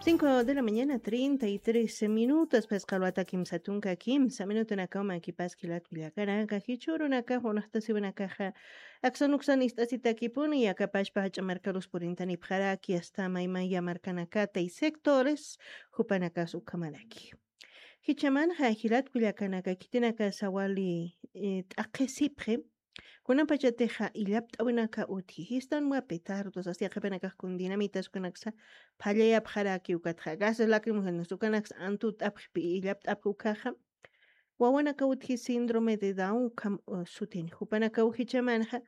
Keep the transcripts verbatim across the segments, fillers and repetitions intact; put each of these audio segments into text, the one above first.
Cinco de la mañana, treinta y tres minutos, pues, qalwata kimsa tunka kimsa minutunakaw makipas jilat kullakanaka, jichhürunaka, unaxtasiwanakaxa, aksan uksan ist'asitakipuni, akapashpa jach'a markarus purintanipxaraki, asta maymaya markanakata y sectores, jupanakas ukhamaraki. Jichhamanxa jilat kullakanaka, khitinakasa wali, eh, t'aqhisipxi, kunapachatixa illapt'awinaka utji, jistan wapi tardos, asta yaqhipanakax kun dinamitas kunaksa phalliyapxaraki ukatxa, gases lacrimógenos ukanaksa antut'apxi, illapt'apxi ukaxa, wawanaka utji síndrome de Down ukham, uh, sutini, jupanakaw jichhamanxa,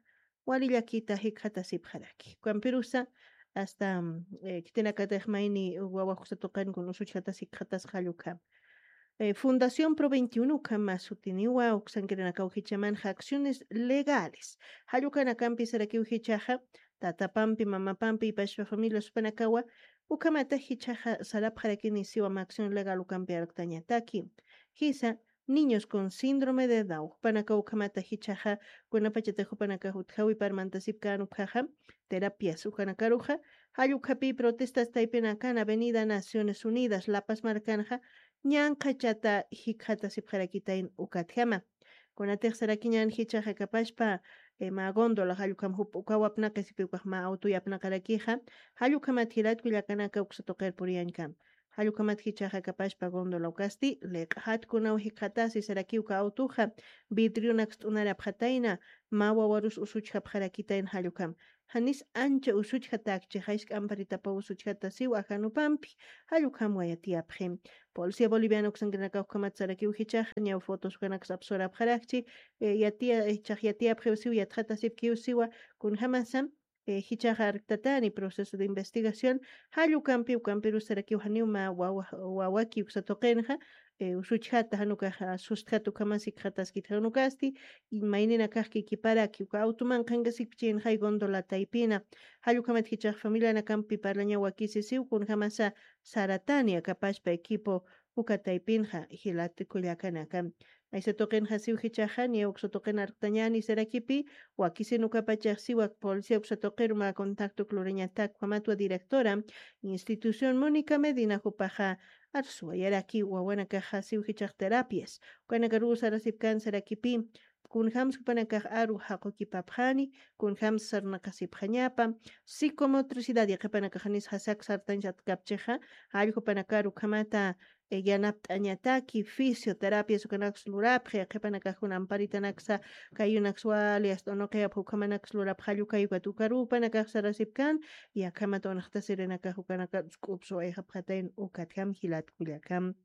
wali llakita jikxatasipxaraki. Ukampirusa, asta, mm, eh, khitinakatix mayni wawa uksa tuqin kun usuchjatas jikxatasxa jall ukham. Eh, Fundación Pro veintiuno ukham mä sutiniwa, uksankirinakaw jichhamanxa acciones legales. Jall ukanakampi sarakiw jichhaxa, tatapampi, mamapampi, ipashpa familia supanakawa, ukhamata jichhaxa sarapxarakini siwa mä acción legal ukampi arktañataki. Jisa, niños con síndrome de Down. Jupanaka ukhamata jichhaxa, kunapachata jupanaka utjawi parmantasipkän ukhaxa, terapias ukanakaruxa, jall ukhapi protestas taypinakan Avenida Naciones Unidas, La Paz markanxa, ñanqhachata jikxatasipxarakitayn ukatjama. Kunatix sarakiñän jichhaxa akapashpa, eh, mä góndola, jall ukham jup ukaw apnaqisipi ukax mä autoy apnaqarakixa, jall ukhamat jilat kullakanaka uksa tuqir puriyañkam. Jall ukhamat jichhaxa akapashpa góndola ukasti, liq'xat kunaw jikxatasi sarakiw uka autoxa, vidrionaks t'unarapxatayna, mä wawarus usuchjapxarakitayna jall ukham. Janis ancha usuchjatäkchi, jaysk'amparitapaw usuchjatasiw ajanupampi, jall ukham wayatiyapxi. Policía Boliviana uksankirinakax ukhamat sarakiw jichhaxa, ñaw fotos ukanaks apsurapxarakchi, eh, yatiya, eh, jichhax yatiyapxiw siw, yatxatasipkiw siwa, kunjamasa, eh, jichhaxa arktatani proceso de investigación, jall ukampi, ukampirus sarakiw janiw mä wawa, wawaki uksa tuqinxa, eh, usuchjata jan ukaxa, sustjat ukhamas jikxataskit jan ukasti, y mayninakax kikiparaki, uka auto manqhankasikpichinxay góndola taypina, jall ukhamat jichhax familianakampi parlañaw wakisi siw, kunjamasa saratani akapashpa equipo uka taypinxa, jilat kullakanaka. Aysa tuqinxa siw jichhaxa, niya uksa tuqin arktañäni sarakipi, wakisin ukapachax siwa policía uksa tuqiru mä contacto lurañatak ukhamatwa directora institución Mónica Medina jupaxa arsuwayaraki wawanakaxa siw jichhax terapias. Ukanakaruw sarasipkän sarakipi, kunjams jupanakax aru jaqukipapxani, kunjams sarnaqasipxañapa, psicomotricidad, yaqhipanakax janis jasak sartañ satkapchixa, jall jupanakaru ukhamata, eh, yanapt'añataki, fisioterapias ukanaks lurapxi, yaqhipanakax kun amparitanaksa, kayunaks wali, asta unuqiyapxi ukhamanaks lurapxi, jall ukay ukat ukaruw jupanakax sarasipkän, y akhamat unaxtasirinakax ukanaka sk'upsuwayxapxatayn ukatjam jilat kullakam.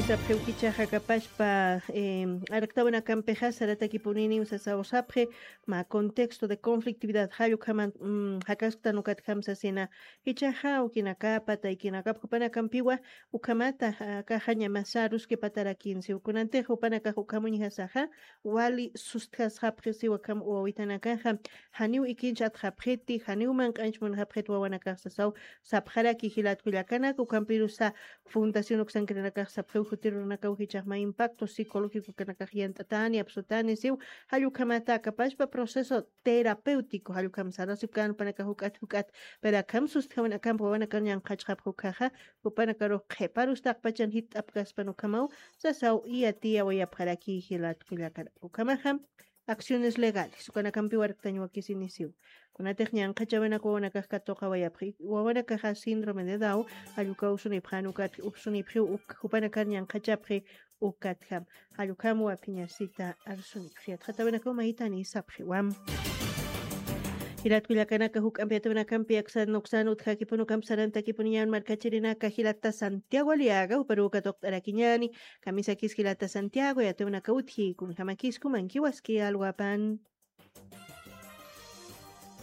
Sapxiw jichhaxa akapashpa, em, arktawinakampixa saratakipuniniw sasaw sapxi, mä contexto de conflictividad jall ukhaman, mm, jakasktan ukatjam sasina, jichhaxa awkinakapa, taykinakapa jupanakampiwa, ukhamata, a, akaxa ñamasarus kipatarakinsiw. Kunantix jupanakax ukhamuñjasaxa, wali sustjasxapxi siwa akham wawitanakaxa, janiw ikinch atxapxiti, janiw manq'anch munxapxit wawanakax sasaw sapxaraki jilat kullakanaka, ukampirusa fundación uksankirinakax sapxiw jutirunakaw jichhax mä impacto psicológico ukanakax yant'atani, apsutani siw, jall ukhamata akapashpa proceso terapéutico, jall ukham sarasipkän jupanakax juk'at juk'at, pero akham sustjawin akham wawanakar ñanqhachxapxi ukkhaxa, jupanakarux qhiparus taqpachan jitt'apkaspan ukhamaw, sasaw yatiyawayapxaraki jilat kullakanaka. Ukhamaxa, acciones legales, ukanakampiw arktañ wakisinisiw. Kunatix ñanqhachäwinak wawanakax katuqawayapxi, wawanakaxa síndrome de Down, jall ukaw usunipxän ukat, upsunipxiw uk, jupanakar ñanqhachapxi ukatjam. Jall ukham wakiñasita arsunipxi. Yatxatäwinakaw maytani sapxiwa. Jilat kullakanaka, juk'ampi yatiyäwinakampi aksan uksan utjakipuni, ukampi sarantakipuniñäni markachirinaka, jilata Santiago Aliaga, juparuw katuqt'arakiñäni, kamisakis jilata Santiago, yatiyäwinaka utji, kunjamakis jumankiwaski alwapan.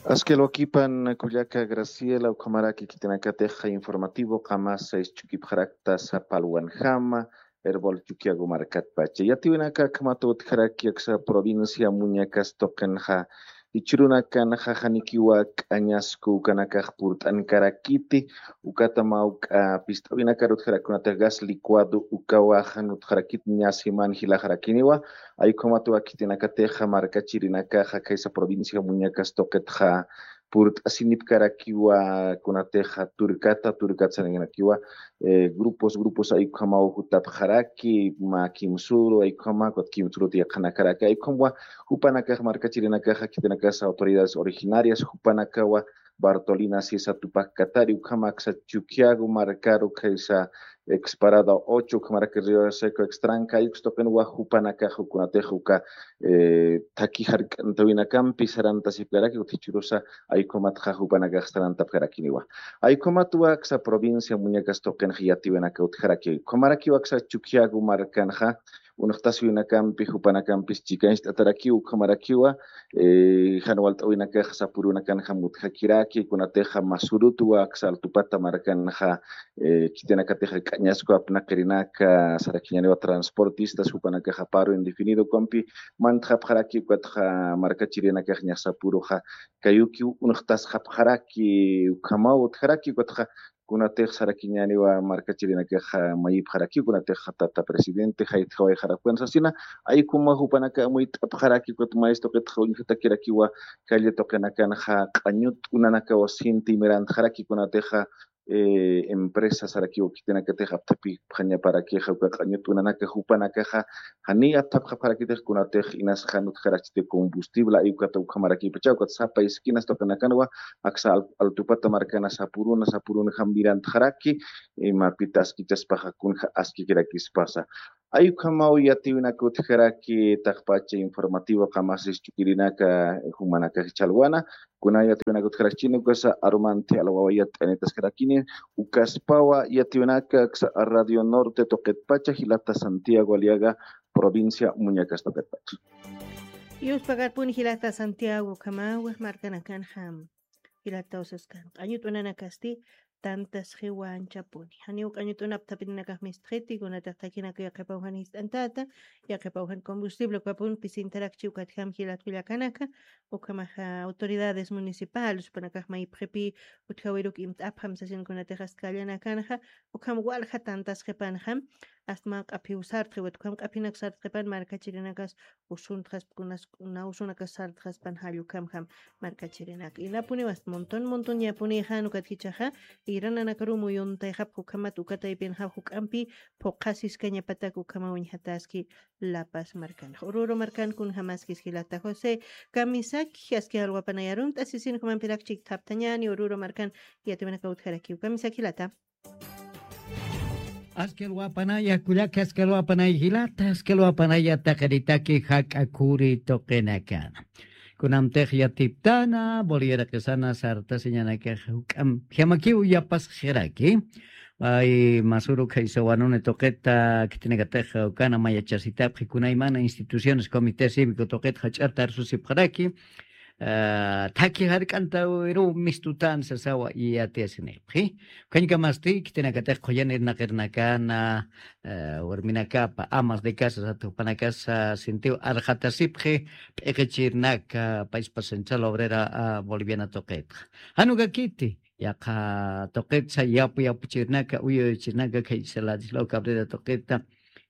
Aski alwakipan kullaka Graciela, ukhamaraki khitinakatix informativo qamasa ischukipxarakta sapa alwanjama, Erbol Chukiyawu markatpacha. Yatiyäwinaka akhama utjaraki aksa provincia Muñecas tuqinxa, jichhürunakanxa janikiwa k'añasku ukanakax purt'ankarakiti, ukatamaw k'a pist'awinakarutjarakunatix gas licuado ukawaxa nutjarakit ñasiman jilaxarakiniwa. Ay ukhamatwa khitinakatixa markachirinakaxa khaysa provincia Muñecas tuqitxa purt'asinipkarakiwa kunatixa turkata turkat sarinakiwa, eh, grupos grupos ay ukhamaw jutapxaraki mä kimsuru ay ukhama ukat kimsuruta yaqhanakaraki ay ukhamwa jupanakax markachirinakaxa khitinakasa autoridades originarias jupanakawa Bartolina sisa tupakatari ukhama aksa Chuquiago markaru khaysa ex parada ocho ukhamaraki Río Seco ex tranca ay ukstuqinwa jupanakax ukunatix uka, eh, thaki jark'antawinakampi sarantasipkaraki utjichurusa ay ukhamatxa jupanakax sarantapkarakiniwa. Ay ukhamatwa aksa provincia Muñecas tuqinxa yatiwinaka utjaraki ukhamarakiwa aksa Chuquiago markanxa unxtasiwinakampi jupanakampis chikañcht'atarakiw ukhamarakiwa, eh, jan walt'awinakax sapurunakanxa mutjakiraki kunatixa masurutwa aksa Altupata markanxa, eh, khitinakatixa k'añasku apnaqirinaka sarakiñaniwa transportistas jupanakaxa paro indefinido ukampi mantxapxaraki ukatxa markachirinakax ñasapuruxa kayukiw unxtasxapxaraki ukhamaw utjaraki ukatxa kunatix sarakiñaniwa markachirinakaxa mayipxaraki kunatix tata presidente jaytjawayxarakuwan sasina ay ukhamwa jupanaka amuyt'apxaraki ukat mayistuqitxa uñjatakirakiwa calle tuqinakanxa q'añut'unanakawa sinti mirantxaraki kunatixa, eh, empresa sarakiwa khitinakatix apthapipxañaparakixa uka q'añut'unanaka jupanakaxa janiy apthapxapxarakitix kunatix inas jan utjarachiti combustible ay ukata ukhamarakipachaw ukat sapa esquinas tuqinakanwa aksa Al- Altupata markana sapuruna sapurunjam mirantxaraki, eh, mapita askichaspaxa kunja askikirakispasa. Ay ukhamaw yatiwinaka utjaraki taqpacha informativo qamasis chukirinaka jumanakax chhalwana, kuna yatiwinaka utjarakchini ukasa arumanthi alwawa yat'anitaskarakini, ukaspawa yatiwinaka aksa Radio Norte tuqitpacha jilata Santiago Aliaga provincia Muñecas tuqitpacha. Yuspagarpuni jilata Santiago ukhamawa markanakanxa jilata usaskan q'añut'unanakasti tantasxiwanchapuni. Janiw q'añut'unap thapinanakax mistxiti kunatix thakinaka yaqhipaw jan jist'antata, yaqhipaw jan combustible ukapun pisintarakchi ukatjam jilat kullakanaka, ukhamaxa autoridades municipales jupanakax mayipxipi utjawiruk imt'apxam sasin kunatix ast kallanakanxa, ukham walja tantasxipanxam, ast mä q'aphiw sartxiwat ukham q'aphinak sartxipan markachirinakas usuntxasp kunas nawsunakas sartxaspan jall ukhamjam markachirinaka. Inapuniw ast montón montonyapunïxan ukat jichhaxa irananakaruw muyuntayxapx ukhamat uka taypinxaw juk'ampi phuqhasiskañapatak ukhamaw uñjataski La Paz markanxa. Ururu markan kunjamaskis jilata José Kamisaki, aski alwapanay arunt'asisin jumanpirak chikthaptañäni Ururu markan yatiwanaka utjarakiw. Kamisaki jilata. Aski alwapanaya kullaka, aski alwapanay jilata, aski alwapanaya taqaritaki jak'a khuri tuqinakana. Kunamtix yatiptana Boliviaraqisana sartasiñanakax juk'amp jamakiw yapasxiraki. Ay masuru khaysa wanuni tuqita khitinakatix ukana mayachasitapxi kunaymana instituciones comité cívico tuqit jach'arta arsusipxaraki. Ah, thaki jark'antawiruw mistutan sasawa yatiyasinipxi. Ukhañkamasti khitinakatix qhuyan irnaqirnakana, ah, warminakapa amas de casa sata jupanakasa sintiw arxatasipxi p'iqichirnaka payspa Central Obrera, ah, Boliviana tuqitxa. Jan ukakiti yaqha tuqitsa yapu yapuchirnaka uyuyuchirnaka khaysa Ladislao Cabrera tuqita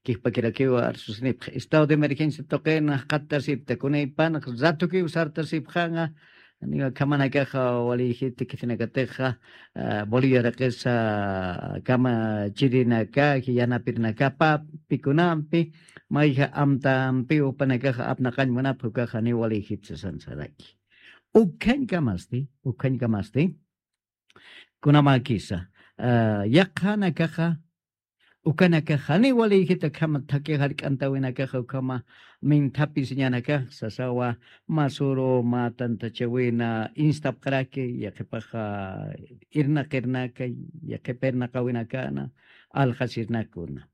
kijpakirakiw arsusinipxi estado de emergencia tuqina jaqatasipta kunaypanax ratukiw sartasipxanxa. Niwa khamanakaxa waliyjiti khitinakatixa, ah, Boliviaraqisa kamachirinaka jiyanapirinakapa pikunampi mayja amtampiw jupanakaxa apnaqañ munapxi ukaxa niw waliyjiti sasansaraki. Ukhañkamasti ukhañkamasti kunamakisa, ah, yaqhanakaxa ukanakax janiw waliyjita khama thaki jark'antawinakaxa ukhama minthapisiñanakax sasawa masuru mä tantachawina instapxaraki yaqhipaxa irnaqirnaka yaqhipa irnaqawinakana alxasirnakuna.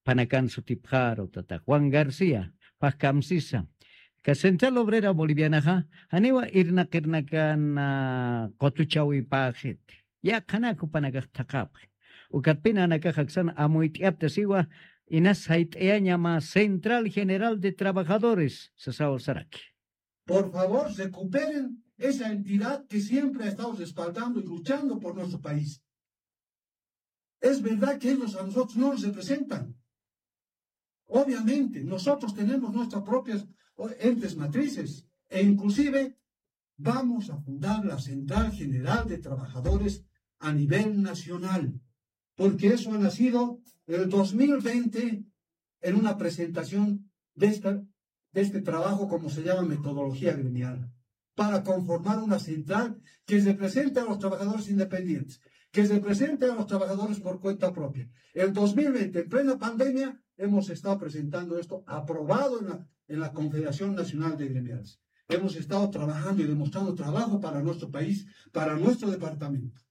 Phanakan sutipxaru tata Juan García phaxkamsisa ka Central Obrera Bolivianaxa janiwa irnaqirnakana qutuchawipäxiti. Yaqhanak jupanakax thaqhapxi. Ukatpina nanakax aksan amuyt'iyapta siwa inas sayt'ayañama Central General de Trabajadores sasaw saraki. Por favor, recuperen esa entidad que siempre ha estado respaldando y luchando por nuestro país. Es verdad que ellos a nosotros no nos representan. Obviamente, nosotros tenemos nuestras propias, o, entes matrices e inclusive vamos a fundar la Central General de Trabajadores a nivel nacional, porque eso ha nacido en el dos mil veinte en una presentación de esta, de este trabajo, como se llama, metodología gremial, para conformar una central que represente a los trabajadores independientes, que represente a los trabajadores por cuenta propia. El dos mil veinte, en plena pandemia, hemos estado presentando esto aprobado en la, en la Confederación Nacional de Gremiales. Hemos estado trabajando y demostrando trabajo para nuestro país, para nuestro departamento.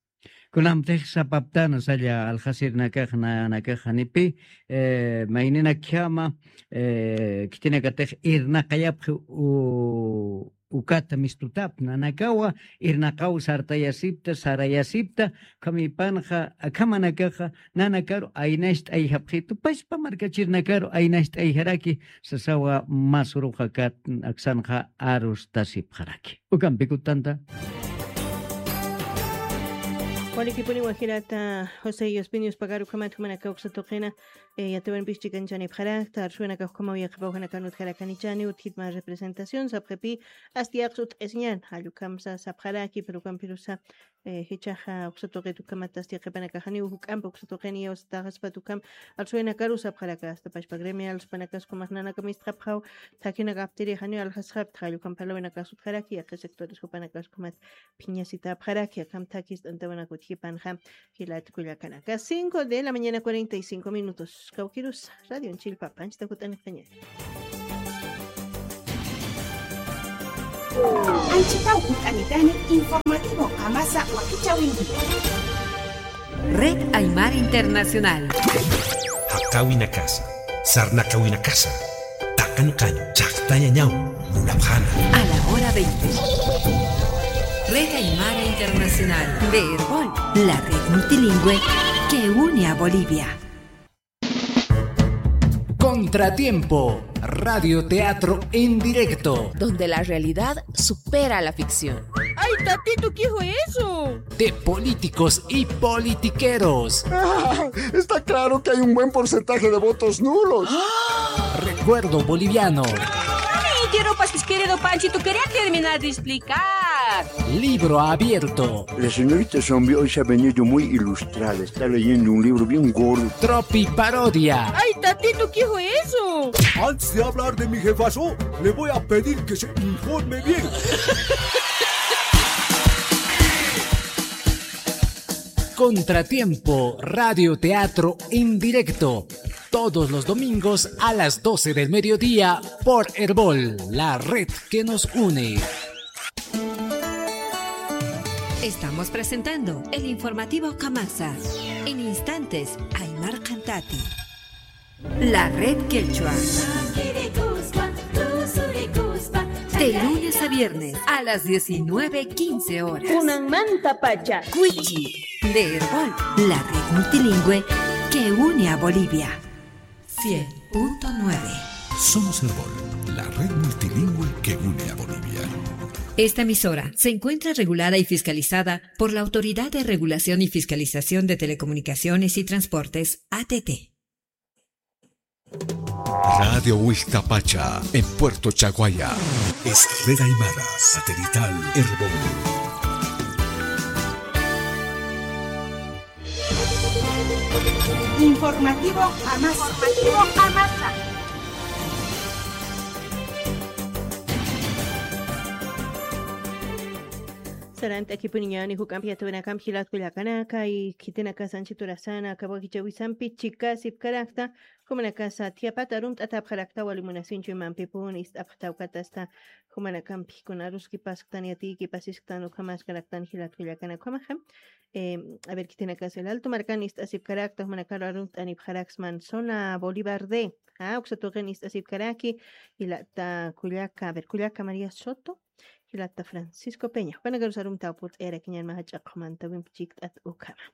Kunamtix sapaptana salla aljasirnakax nanakax janipi, eh, mayninakjama, eh, khitinakatix irnaqayapxi u-, ukata mistutap nanakawa, irnaqaw sartayasipta, sarayasipta, ukhamipanxa, akhamanakaxa, nanakaru aynacht'ayjapxitu, paspa markachirnakaru aynacht'ayjaraki, sasawa masuruxa kat aksanxa arustasipxaraki. Ukampikutanta. Walikipuni wajirata José Yospinius Pagaru ukhamat jumanaka uksa tuqina, eh, yatiwanpis chikanchani pxarakta, arsuwanaka ukhama uyaqipawjanaka nutjarakanichani, utjit ma representación, sapxipi, asti yaqsut esiñan, jallukamsa sapxaraki, pero ukampirusa, eh, jichaxa uksa tuqit ukhamat asti yaqipanaka janiw juk'ampi uksa tuqini yawsataxaspat ukham, arsuwanakaru sapxaraka, hasta pachpa gremial, supanakas ukhamax nanaka mistxapxaw, thakinakaptiri janiw aljasxapta, jallukampi parlawinaka sutjaraki, yaqi sectores jupanakas ukhamat, phiñasitapxaraki, akham thakis t'antawanak utjipanxa, jilat kullakanaka. Cinco de la mañana, cuarenta y cinco minutos. Kawkirus, Radio Chilpa, panchita jut'anixtaña. Anchitaw jut'anitani, informativo qamasa wakichawinki. Red Aymara Internacional. Jaqawinakasa, sarnaqawinakasa, taqanqañ chaqtañañaw munapxana. A la hora veinte. Red Aymara Internacional de Erbol, la red multilingüe que une a Bolivia. Contratiempo, radio teatro en directo. Donde la realidad supera la ficción. ¡Ay, tatito, qué fue eso! De políticos y politiqueros. Está claro que hay un buen porcentaje de votos nulos. Recuerdo boliviano. Ay, qué ropas, querido Panchito, quería terminar de explicar. Libro abierto. La señorita Zombie hoy se ha venido muy ilustrada. Está leyendo un libro bien gordo. Tropi parodia. ¡Ay, tatito, qué fue eso! Antes de hablar de mi jefazo, le voy a pedir que se informe bien. Contratiempo, radio teatro en directo. Todos los domingos a las doce del mediodía por Erbol, la red que nos une. Estamos presentando el informativo Kamasa. En instantes, Aymar Cantati. La red quechua. De lunes a viernes a las diecinueve quince horas. Kunanmantapacha. Cuichi, de Erbol, la red multilingüe que une a Bolivia. Cien punto nueve. Somos Erbol, la red multilingüe que une a Bolivia. Esta emisora se encuentra regulada y fiscalizada por la Autoridad de Regulación y Fiscalización de Telecomunicaciones y Transportes, A T T. Radio Huixtapacha, en Puerto Chaguaya. Es Red Aymara, satelital Erbol. Informativo Amasa. Informativo Amasa. Sarant'akipuniñäni juk'ampi yatawinakampi jilat kullakanaka, y khitinakas anchit urasana, aka wakichäwisampi chikasipkarakta, jumanakasa thiyapata arumt'atapxarakta, wali munasiñchu imampipuni ist'apxta ukatasta, jumanakampi kuna aruskipasktan, yatiyikipasisktan, ukhamaskaraktan jilat kullakanaka, ukhamaxa. Eh, a ver, khitinakas El Alto markan ist'asipkarakta, jumanakaru arumt'anipxaraksman zona Bolívar D. Ah, uksa tuqin ist'asipkaraki, jilata kullaka, a ver, kullaka María Soto, jilata Francisco Peña. Jupanakarusa arumtaw purt'ayarakiñan mä jach'a qhumantawimpi chikt'at ukhama.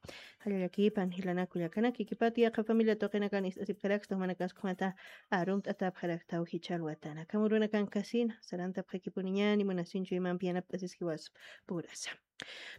Jallallakipan jilanakullakanaki kipati yaqha familia tuqinakan ist'asipkarakstan jumanakaskhumata arumt'atapxaraktaw jichhalwatana. Kamurunakankasina sarantapxakipuniñani munasinchu imampi yanapt'asis jiwas purasa.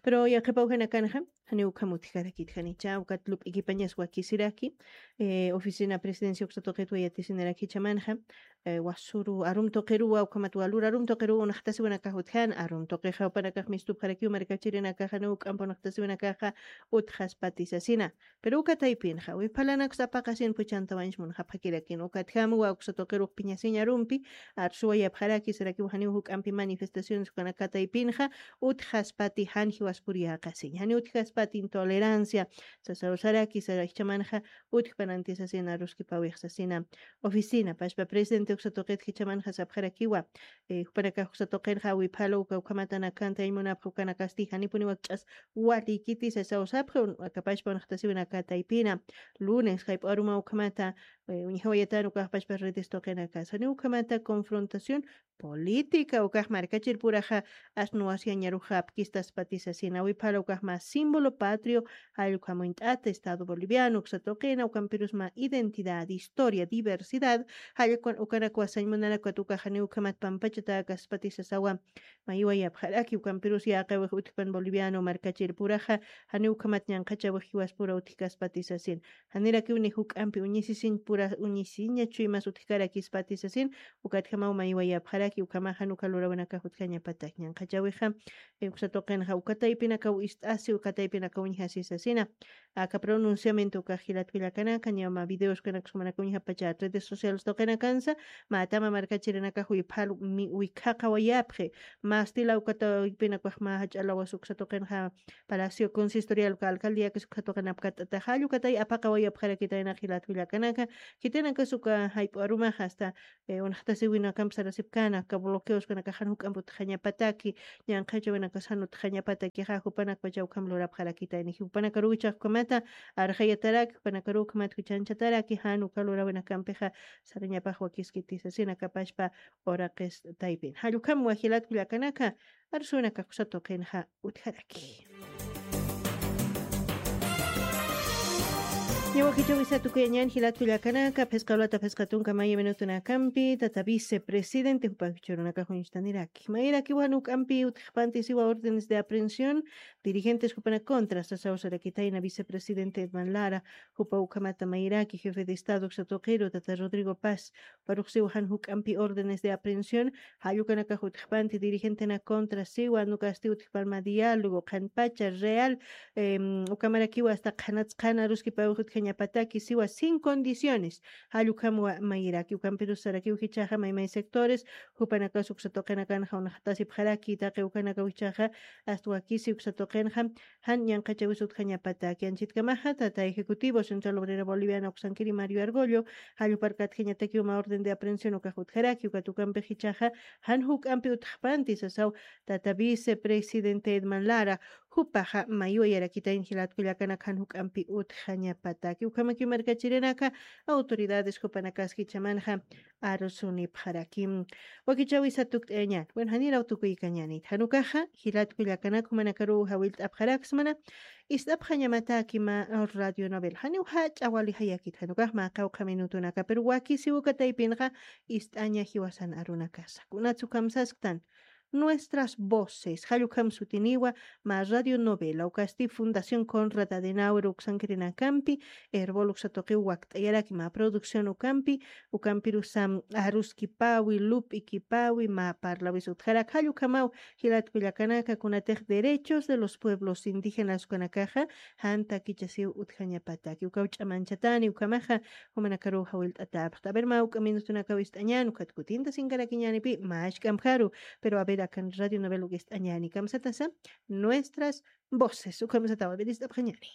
Pero yaqhipaw janakanxa janiw ukham utjkarakit janicha ukat lup'ikipañas wakisiraki, eh, oficina presidencia uksa tuqitwa yatisinaraki jichhamanxa, eh, wasuru arum tuqiruwa ukhamat walur arum tuqiruwa unaqtasiwanakax utjan arum tuqixa jupanakax mistupxarakiw markachirinakaxa janiw uk'ampa unaqtasiwanakaxa utjaspati sasina. Pero uka taypinxa wiphalanakus apaqasin puchantawañch munxapxakirakin ukatjam wawksa tuqirux piñasiñ arumpi arsuwayapxaraki sarakiw janiw juk'ampi manifestaciones ukanaka taypinxa utjaspati jan jiwaspur yäqasiñ janiw utjaspati intolerancia sasawsaraki sara jichhamanxa utjpananti sasina aruskipawix sasina. Oficina pashpa presidente uksa tuqit jichhamanxa sapxarakiwa, eh, jupanakax uksa tuqinxa wiphalu uka ukhamatanakanti añmunapxa ukanakasti janipuni wakch'as walikiti sasawsapxi akapashpa unaqtasiwinaka taypina. Lunes jayp'aruma ukhamata, eh, uñjawayatan ukaxpashpa redes tuqinakas janiw ukhamata confrontación política ukax markachirpuraxa asnuwasyañaruxa apkistaspati sasina wiphala ukax mä símbolo patrio jallukhamuñt'ata estado boliviano uksa tuqina ukampirus mä identidad historia diversidad jallukun ukanakwa sañmunanakwat ukax janiw ukhamat pampachatäkaspati sasawa. Maywayapxaraki ukampirus yäqiwix utjpan boliviano markachirpuraxa janiw ukhamat ñanqhachawix jiwaspura utjkaspati sasin. Janirakiw ni juk'ampi uñisisiñ pura uñisiñachu imas utjkarakispati sasin. Ukatjamaw maywayapxaraki ukhamaxa nuka lurawinakax utjañapatak ñanqhachawixa, eh, uksa tuqinxa uka taypinakaw ist'asi uka taypinakaw uñjasi sasina. Aka pronunciamiento ukax jilat kullakanaka ñawma videos kunakas jumanaka uñjapacha redes sociales tuqinakansa, mä tama markachirinakax wiphalu mi wikhaqawayapxi. Mä estila uka taypinakax mä jach'a lawas uksa tuqinxa palacio consistorial uka alcaldiakas uksa tuqinapkat'ataxa jallukatay apaqawayapxarakitayna jilat kullakanaka. Khitinakas uka jayp'u arumaxa hasta, eh, unaqtasiwinakamp sarasipkana aka bloqueoskunakaxan juk'amp utjañapataki ñanqhachawinakas jan utjañapatakixa jupanakpacha ukham lurapxarakitayni jupanakaruwichax ukhamata arxayataraki jupanakaruw ukhamat juchanchataraki jan uka lurawinakampixa sarañapax wakiskiti sasina kapashpa uraqis taypin jallukham wajilat kullakanaka. Arsuwinakax uksa tuqinxa utjaraki. Ñawakichawisa tukuyañan jilat kullakanaka phisqa lata phisqa tunka maya minutunakampi tata vicepresidente jupakichurunakax uñstaniraki mayrakiwan uk'ampi utjpanti siwa órdenes de aprehensión dirigentes jupana contra sasawasarakitayna vicepresidente edman lara jupa ukhamata mayraki jefe de estado uksa tuqiru tata rodrigo paz paruxsiw jan juk'ampi órdenes de aprehensión jallukanakax utjpanti dirigentena contra siwa nukasti utjpanma diálogo qhanpacha real, em, ukamarakiwa hasta qhanatsqhana aruskipawix utjañapataki siwa sin condiciones. Jallukhamwa mayraki ukampirus sarakiw jichhaxa maymay sectores jupanakas uksa tuqinakanxa unaqtasipxaraki taqi ukanakaw jichhaxa hasta wakisi uksa tuqinxa jan ñanqhachawis utjañapataki anchitkamaxa tata ejecutivo central obrera boliviana uksankiri mario argollo jalluparkatjañatakiw mä orden de aprehensión ukax utjaraki ukat ukampix jichhaxa jan juk'ampi utjpanti sasaw tata vicepresidente edman lara jupaxa maywayarakitayn jilat kullakanaka jan juk'ampi utjañapataki ukhamakiw markachirinaka autoridades jupanakas jichhamanxa arusunipxaraki. Wakichawisa tukt'ayañan bueno janiraw tukuykañanit jan ukaxa jilat kullakanaka jumanakaruw jawillt'apxaraksmana ist'apxañamataki mä radio novel janiw jach'a wali jayakit jan ukax mä qawqha minutunaka pero wakisiw uka taypinxa ist'aña jiwasan arunakasa kunatsu kamsasktan nuestras voces jallukham sutiniwa mä radio novela ukasti fundación conrad adenauer uksankirinakampi erbol uksa tuqiw wakt'ayaraki mä producción ukampi ukampirusam aruskipawi lup'ikipawi mä parlawis utjarak jallukhamaw jilat kullakanaka kunatix derechos de los pueblos indígenas ukanakaxa jan takichasiw utjañapataki ukaw ch'amanchatani ukhamaxa jumanakaruw jawillt'atäpxta a ver mä uk'a minutunakaw ist'añän ukat kutinta sinkarakiñänipi mä achk'ampjaru pero a ver akan radio novel uk ist'añäni kamsatasa nuestras voces ukhamsataw a ver ist'apxañäni.